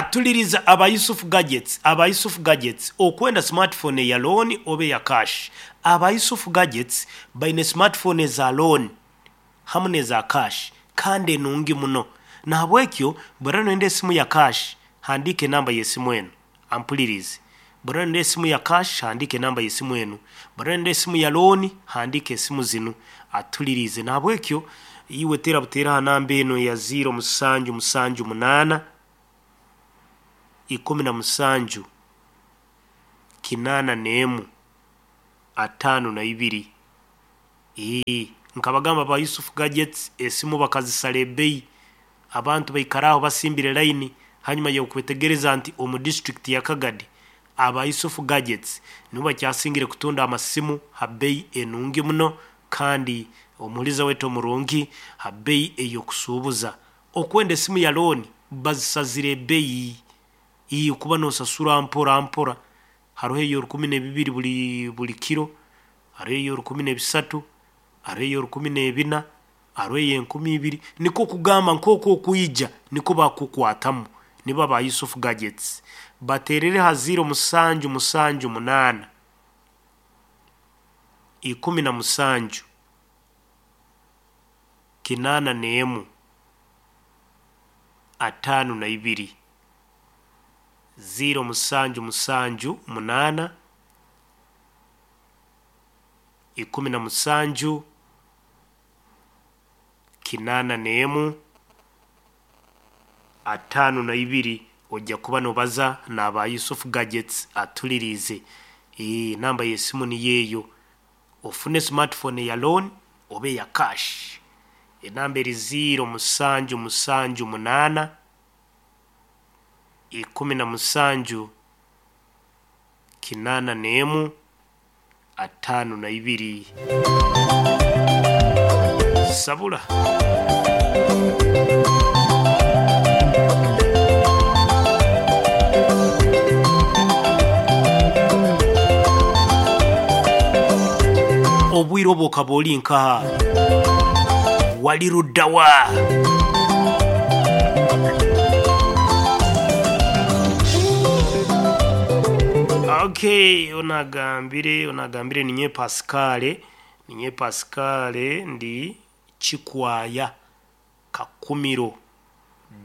Atuliriza aba Yusuf Gadgets, aba Yusuf Gadgets okwenda smartphone eya loan oba eya cash. Aba Yusuf Gadgets baine smartphone eza loan hamu n'eza cash kandi enungi muno. Nahabwekyo bw'oraaba noyenda esimu ya cash, handiika enamba y'esimu enu ampulirize. Bw'oraaba noyenda esimu ya cash, handiika enamba y'esimu enu. Bw'oraaba noyenda esimu ya loan, handiika esimu zinu atulirize. Nahabwekyo iwe teera buteera ha namba enu eya 0 musanju musanju munaana 17 81 52. Nkabagamba aba Yusuf Gadgets esimu bakazisara ebbeyi, abantu baikara aho basimbire layini hanyuma y'okwetegereza nti omu disitulikiti ya Kagadi aba Yusuf Gadgets nibo bakyasingire kutunda amasimu ha bbeyi enungi muno kandi omuhuliza waitu omurungi ha bbeyi ey'okusuubuza. Okwenda esimu ya looni bazisazire ebbeyi, kuba noosasura mpora mpora, haroho ey'orukumi n'ebibiri buli kiro, haroho ey'orukumi n'ebisatu, haroho ey'orukumi n'ebina, haroho ey'enkumi ibiri, nikwo kugamba nkooku okwija nikwo bakukukwatamu nibo aba Yusuf Gadgets. Bateerere ha 0 musanju musanju munaana, 17 81 52. 0 musanju musanju munaana, 17 81 52 ojja kuba noobaza n'aba Yusuf Gadgets atuliriize. Namba y'esimu niyo eyo. Ofune smartphone eya loan oba eya cash. Enamba eri 0 musanju musanju munaana, 17 81 52. Sabula. Obwire obu okaba oli nkaha? Wali ludda wa? Okay, onu agambire, onu agambire ninyowe Pascal, ninyowe Pascal ndi Kikwaya Kakumiro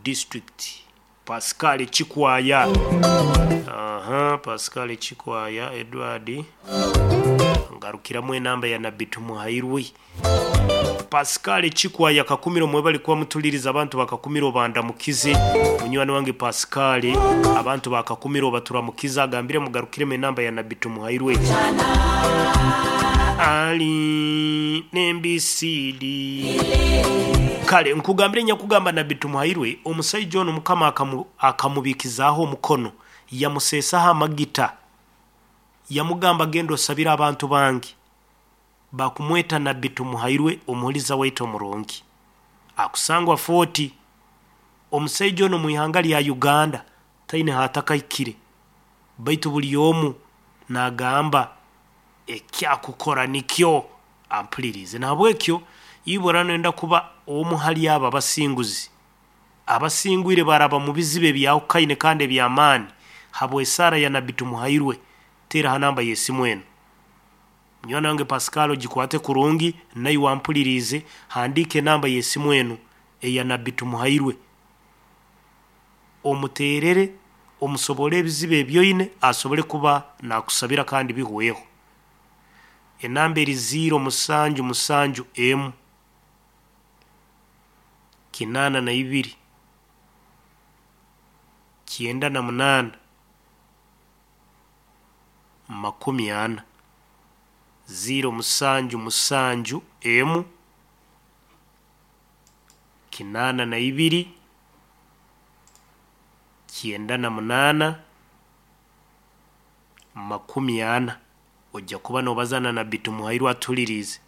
district. Pascal Kikwaya. Aha, Pascal Kikwaya Edward. Ngarukiramu enamba ya Nabbi Tumuhairwe. Pascal Kikwaya Kakumiro mwebale kuba mutuliriza abantu ba Kakumiro bandamukize. Munywani wange Pascal, abantu ba Kakumiro baturamukize agambire mugarukiremu enamba ya Nabbi Tumuhairwe. Ali n'embisiidi. Kale nkugambire nyakugamba Nabbi Tumuhairwe, omusaija onu Mukama akamubikizaaho omukono, yamuseesaho amagita, yamugamba genda osabire abantu bange. Bakumweta Nabbi Tumuhairwe omuhuliza waitu omurungi. Akusangwa Fort. Omusaija onu omu ihanga lya Uganda taine haatakahikire, baitu buli omu naagamba ekyakukora nikyo ampuliriize. Nahabwekyo iwe oraaba noyenda kuba omu hali abo abasinguzi, abasingwire baraba mu bizibu ebyahukaine kandi eby'amaani habw'esaara ya Nabbi Tumuhairwe, teera ha namba y'esimu enu. Munywani wange Pascal ogikwate kurungi naiwe ampuliriize, handiika enamba y'esimu enu eya Nabbi Tumuhairwe. Omuteerere, omusoborre ebizibu ebi oine asobole kuba naakusabira kandi bihweho. Enamba eri 0 musanju musanju emu, 82 98 40. 0 musanju musanju emu, 82 98 40. Ojja kuba noobaza na Nabbi Tumuhairwe atuliriize.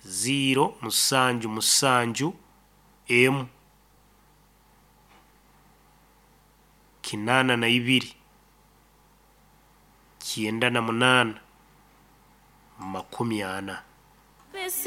0 musanju musanju emu, 82 98 40.